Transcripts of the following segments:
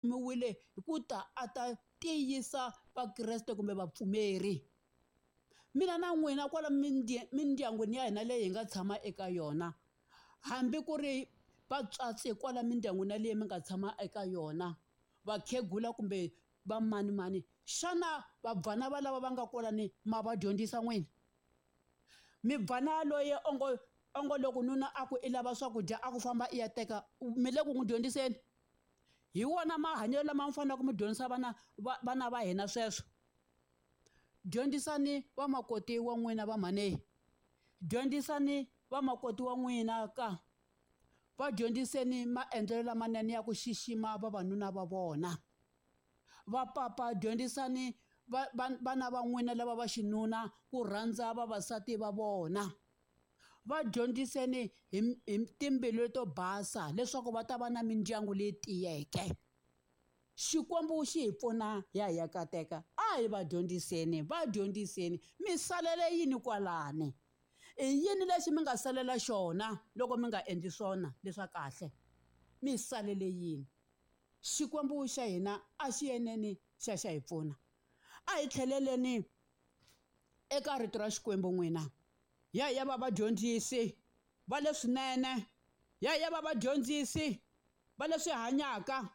Rhumiwile hi ku ta a ta tiyisa Vakreste kumbe vapfumeri. Mina na n'wina kwala mindyangwini ya hina leyi hi nga tshama eka yona, hambi ku ri vatswatsi kwala mindyangwini yaleyi mi nga tshama eka yona, vakhegula kumbe va manimani, xana vabvana va lava va nga kwalani ma va dyondzisa n'wina? Mibvana yaloye ongo ongo loko nuna a ku i lava swakudya a ku famba i ya teka mi le ku n'wi dyondziseni? Hi wona mahanyelo lama mi faneleke mi dyondzisa vana va vana va hina sweswo. Dyondzisani vamakoti wa n'wina va mhani, dyondzisani vamakoti wa n'wina ka, va dyondziseni maendlelo lamanene ya ku xixima vavanuna va vona. Va papa dyondzisani va vana va n'wina lava va xinuna ku rhandza vavasati va vona. Va dyondziseni hi hi timbilu to basa leswaku va ta va na mindyangu leyi tiyeke. Xikwembu xi hi pfuna hi ya hi ya kateka. A hi va dyondziseni, va dyondziseni. Mi salele yini kwalani? I yini lexi mi nga salela xona loko mi nga endli swona leswa kahle? Mi salele yini? Xikwembu xa hina a xi yeneni xa xa hi pfuna. A hi tlheleleni eka rito ra Xikwembu n'wina. Ya ya va vadyondzisi va leswinene, ya ya va vadyondzisi va leswi hanyaka,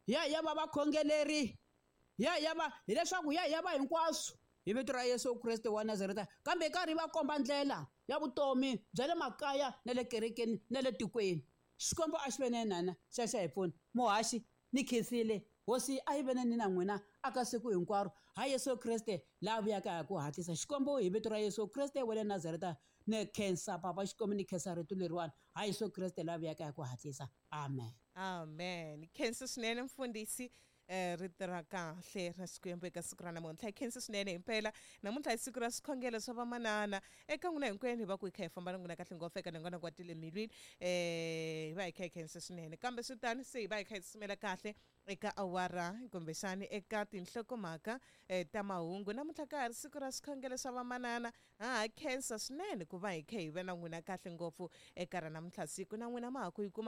ya ya va vakhongeleri, ya ya va hileswaku ya ya va hinkwaswo hi vito ra Yesu Kreste wa Nazareta, kambe hi karhi va komba ndlela ya vutomi bya le makaya na le kerekeni na le tikweni. Xikwembu a xi ve na yena xa xa hi pfuna. Muhaxi ni khensile hosi a yi ve ni na n'wina aka siku hinkwaro ha Yesu Kreste laha vuyaka hi ku hatlisa. Xikwembu hi vito ra Yesu Kreste wa le Nazareta ni khensa papa Xikwembu ni khensa rito leriwani ha Yesu Kreste laha vuyaka hi ku hatlisa. Amen. Amen. Khensa swinene mfundhisi eh, rito ra kahle ra Xikwembu eka siku ra namuntlha. Hi khensa swinene himpela. Namuntlha hi siku ra swikhongelo swa vamanana. Eka n'wina hinkwenu hi va ku hi kha hi famba na n'wina kahle ngopfu eka nongonoko wa tile mbilwini. Eh, hi va hi kha hi khensa swinene. Kambe swi tani se hi va hi kha hi tsutsumela kahle eka awara kumbexani eka tinhlokomhaka eh, ta mahungu. Namuntlha ka ha ri siku ra swikhongelo swa vamanana. Ha ha khensa swinene ku va hi kha hi va na n'wina kahle ngopfu eka ra namuntlha siku. Na n'wina ma ha ku yi kuma.